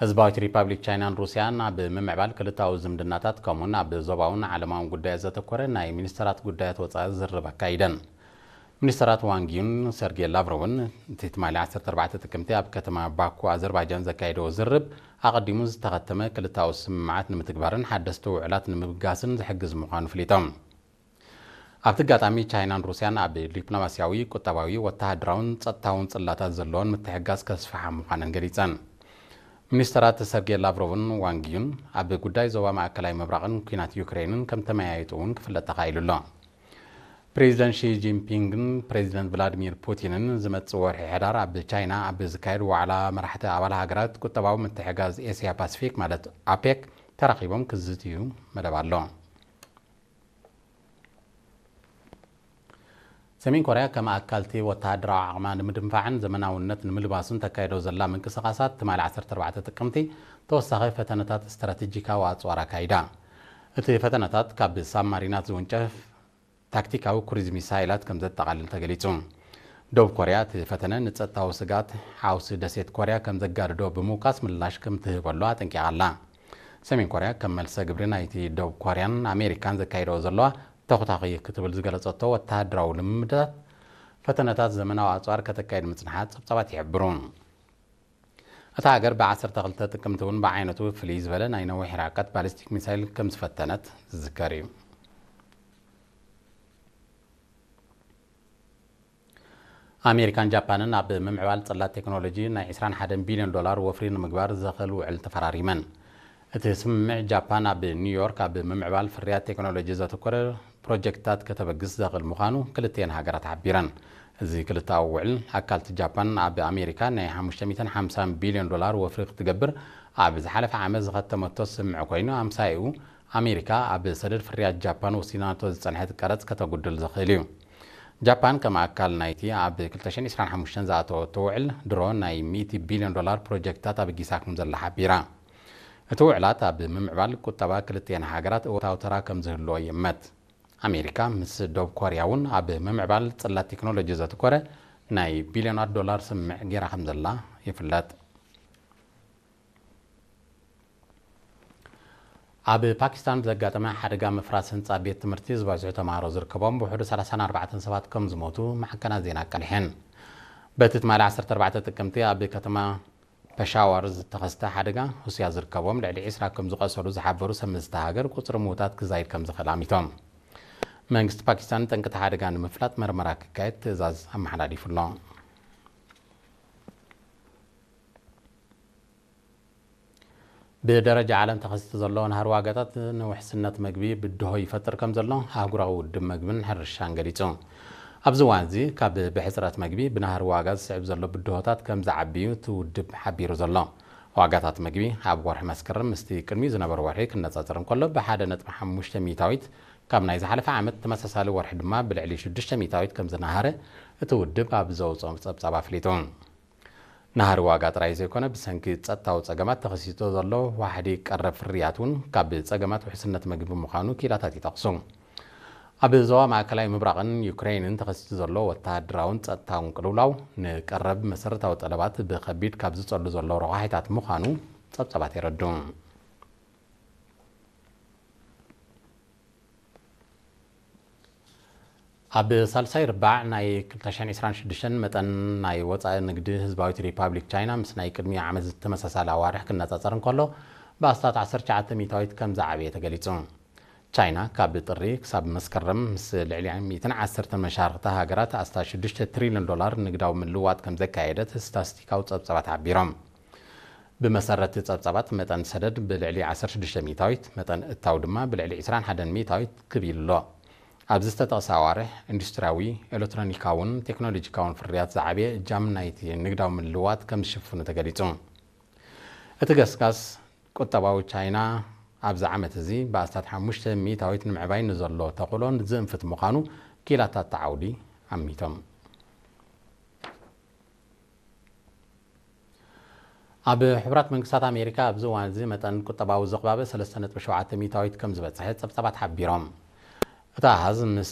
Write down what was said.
ህዝባዊት ሪፓብሊክ ቻይናን ሩስያን ኣብ ምምዕባል ክልታዊ ዝምድናታት ከምኡን ኣብ ዞባውን ዓለማውን ጉዳያት ዘተኮረ ናይ ሚኒስተራት ጉዳያት ወፃኢ ዝርርብ ኣካይደን። ሚኒስተራት ዋንጊዩን ሰርጌ ላቭሮቭን እቲ ትማሊ ዓሰርተ ኣርባዕተ ጥቅምቲ ኣብ ከተማ ባኩ ኣዘርባይጃን ዘካየደዎ ዝርርብ ኣቐዲሙ ዝተኸተመ ክልታዊ ስምምዓት ንምትግባርን ሓደስቲ ውዕላት ንምብጋስን ዝሕግዝ ምዃኑ ፍሊጦም። ኣብቲ ኣጋጣሚ ቻይናን ሩስያን ኣብ ዲፕሎማስያዊ፣ ቁጠባዊ፣ ወተሃደራውን ጸጥታውን ጽላታት ዘለዎን ምትሕግጋዝ ከስፍሓ ምዃነን ገሊጸን። ሚኒስተራት ሰርጌ ላቭሮቭን ዋንጊዩን ኣብ ጉዳይ ዞባ ማእከላይ ምብራቕን ኲናት ዩክሬንን ከም ተመያየጡ እውን ክፍለጥ ተኻኢሉ ኣሎ። ፕሬዚደንት ሺ ጂንፒንግን ፕሬዚደንት ቭላዲሚር ፑቲንን ዝመጽእ ወርሒ ሕዳር ኣብ ቻይና ኣብ ዝካየድ ዋዕላ መራሕቲ ኣባል ሃገራት ቁጠባዊ ምትሕጋዝ ኤስያ ፓሲፊክ ማለት ኣፔክ ተራኺቦም ክዝትዩ መደብ ኣሎ። ሰሜን ኮርያ ከም ኣካልቲ ወተሃደራዊ ዓቕማ ንምድንፋዕን ዘመናውነት ንምልባሱን ተካይዶ ዘላ ምንቅስቓሳት ትማሊ ዓሰርተ ኣርባዕተ ጥቅምቲ ተወሳኺ ፈተነታት ስትራቴጂካዊ ኣጽዋር ኣካይዳ። እቲ ፈተነታት ካብ ሳብማሪናት ዝውንጨፍ ታክቲካዊ ክሩዝ ሚሳይላት ከም ዘጠቓልል ተገሊጹ። ደቡብ ኮርያ እቲ ፈተነ ንጸጥታዊ ስግኣት ሓውሲ ደሴት ኮርያ ከም ዘጋድዶ ብምውቃስ ምላሽ ከም ትህበሉ ኣጠንቂቓ ኣላ። ሰሜን ኮርያ ከም መልሰ ግብሪ ናይቲ ደቡብ ኮርያን ኣሜሪካን ዘካይደኦ ዘለዋ ተኹታኺ ክትብል ዝገለጸቶ ወተሃደራዊ ልምምዳት ፈተነታት ዘመናዊ ኣጽዋር ከተካይድ ምጽንሓ ጸብጻባት ይሕብሩ። እታ ሃገር ብ12 ጥቅምቲ እውን ብዓይነቱ ፍልይ ዝበለ ናይ ነዊሕ ርሕቀት ባሊስቲክ ሚሳይል ከም ዝፈተነት ዝዝከር እዩ። ኣሜሪካን ጃፓንን ኣብ ምምዕባል ጽላት ቴክኖሎጂ ናይ ዕስራን ሓደን ቢልዮን ዶላር ወፍሪ ንምግባር ዘኽእል ውዕል ተፈራሪመን። እቲ ስምምዕ ጃፓን ኣብ ኒውዮርክ ኣብ ምምዕባል ፍርያት ቴክኖሎጂ ዘተኮረ ፕሮጀክትታት ከተበግስ ዘኽእል ምዃኑ ክልቲኤን ሃገራት ሓቢረን። እዚ ክልተኣዊ ውዕል ኣካልቲ ጃፓን ኣብ ኣሜሪካ ናይ ሓሙሽተ ሚእትን ሓምሳን ቢልዮን ዶላር ወፍሪ ክትገብር ኣብ ዝሓለፈ ዓመት ዝኸተመቶ ስምምዕ ኮይኑ ኣምሳይኡ ኣሜሪካ ኣብ ሰደድ ፍርያት ጃፓን ወሲናቶ ዝጸንሐት ቀረጽ ከተጉድል ዘኽእል እዩ። ጃፓን ከም ኣካል ናይቲ ኣብ ክልተ ሽሕን ዕስራን ሓሙሽተን ዝኣተወቶ ውዕል ድሮ ናይ ሚእቲ ቢልዮን ዶላር ፕሮጀክትታት ኣበጊሳ ከም ዘላ ሓቢራ። እቲ ውዕላት ኣብ ምምዕባል ቁጠባ ክልቲኤን ሃገራት እወታዊ ተራ ከም ዝህልዎ ይእመት። ኣሜሪካ ምስ ደቡብ ኮርያ እውን ኣብ ምምዕባል ጽላት ቴክኖሎጂ ዘትኮረ ናይ ቢልዮናት ዶላር ስምምዕ ገይራ ከም ዘላ ይፍለጥ። ኣብ ፓኪስታን ብዘጋጠመ ሓደጋ ምፍራስ ህንጻ ቤት ትምህርቲ ዝበዝሑ ተምሃሮ ዝርከቦም ብውሕዱ ሰላሳን ኣርባዕተን ሰባት ከም ዝሞቱ ማዕከናት ዜና ኣቃሊሐን። በቲ ትማሊ ዓሰርተ ኣርባዕተ ጥቅምቲ ኣብ ከተማ ፐሻዋር ዝተኸስተ ሓደጋ ሩስያ ዝርከቦም ልዕሊ ዕስራ ከም ዝቐሰሉ ዝሓበሩ ሰብ ምስቲ ሃገር ቁጽሪ ምዉታት ክዛይድ ከም ዝኽእል ኣሚቶም። መንግስቲ ፓኪስታን ጠንቅቲ ሓደጋ ንምፍላጥ መርመራ ክካየድ ትእዛዝ ኣመሓላሊፉ ኣሎ። ብደረጃ ዓለም ተኸሲቱ ዘሎ ናህሪ ዋጋታት ንውሕስነት መግቢ ብድሆ ይፈጥር ከም ዘሎ ኣህጉራዊ ውድብ መግብን ሕርሻን ገሊጹ። ኣብዚ እዋን እዚ ካብ ብሕጽረት መግቢ ብናህሪ ዋጋ ዝስዕብ ዘሎ ብድሆታት ከም ዝዓቢ እዩ እቲ ውድብ ሓቢሩ ዘሎ። ዋጋታት መግቢ ኣብ ወርሒ መስከረም ምስቲ ቅድሚኡ ዝነበረ ወርሒ ክነጻጸር እንከሎ ብሓደ ነጥቢ ሓሙሽተ ሚእታዊት፣ ካብ ናይ ዝሓለፈ ዓመት ተመሳሳሊ ወርሒ ድማ ብልዕሊ ሽዱሽተ ሚእታዊት ከም ዝነሃረ እቲ ውድብ ኣብ ዘውጽኦ ጸብጻብ ኣፍሊጡ። ናህሪ ዋጋ ጥራይ ዘይኮነ ብሰንኪ ጸጥታዊ ጸገማት ተኸሲቶ ዘሎ ዋሕዲ ቀረብ ፍርያት እውን ካብ ጸገማት ውሕስነት መግቢ ምዃኑ ኪላታት ይጠቕሱ። ኣብ ዞባ ማእከላይ ምብራቕን ዩክሬንን ተኸሲቱ ዘሎ ወተሃደራውን ጸጥታውን ቅልውላው ንቀረብ መሰረታዊ ጠለባት ብኸቢድ ካብ ዝጸሉ ዘሎ ረቋሒታት ምዃኑ ጸብጻባት የረድኡ። ኣብ ሳልሳይ ርባዕ ናይ ክልተ ሽሕን ዕስራን ሽዱሽተን መጠን ናይ ወጻኢ ንግዲ ህዝባዊት ሪፓብሊክ ቻይና ምስ ናይ ቅድሚ ዓመት ዝተመሳሳለ ኣዋርሕ ክነጻጸር እንከሎ ብኣስታት ዓሰርተ ትሽዓተ ሚእታዊት ከም ዝዓበየ ተገሊጹ። ቻይና ካብ ጥሪ ክሳብ መስከረም ምስ ልዕሊ ሚእትን ዓሰርተን መሻርኽቲ ሃገራት ኣስታት ሽዱሽተ ትሪልዮን ዶላር ንግዳዊ ምልውዋጥ ከም ዘካየደት ስታስቲካዊ ጸብጻባት ሓቢሮም። ብመሰረት ጸብጻባት መጠን ሰደድ ብልዕሊ ዓሰርተ ሽዱሽተ ሚእታዊት፣ መጠን እታው ድማ ብልዕሊ ዕስራን ሓደን ሚእታዊት ክብ ኢሉ ኣሎ። ኣብዚ ዝተጠቕሰ ኣዋርሕ ኢንዱስትሪያዊ፣ ኤሌክትሮኒካውን ቴክኖሎጂካውን ፍርያት ዝዓበየ እጃም ናይቲ ንግዳዊ ምልውዋጥ ከም ዝሽፍኑ ተገሊጹ። እቲ ገስጋስ ቁጠባዊ ቻይና ኣብዚ ዓመት እዚ ብኣስታት ሓሙሽተ ሚእታዊት ንምዕባይ ንዘሎ ተኽእሎ ዝእንፍት ምዃኑ ኪላታት ተዓውዲ ኣሚቶም። ኣብ ሕቡራት መንግስታት ኣሜሪካ ኣብዚ እዋን እዚ መጠን ቁጠባዊ ዝቕባበ ሰለስተ ነጥቢ ሸውዓተ ሚእታዊት ከም ዝበጽሐ ጸብጻባት ሓቢሮም። እቲ ኣሃዝ ምስ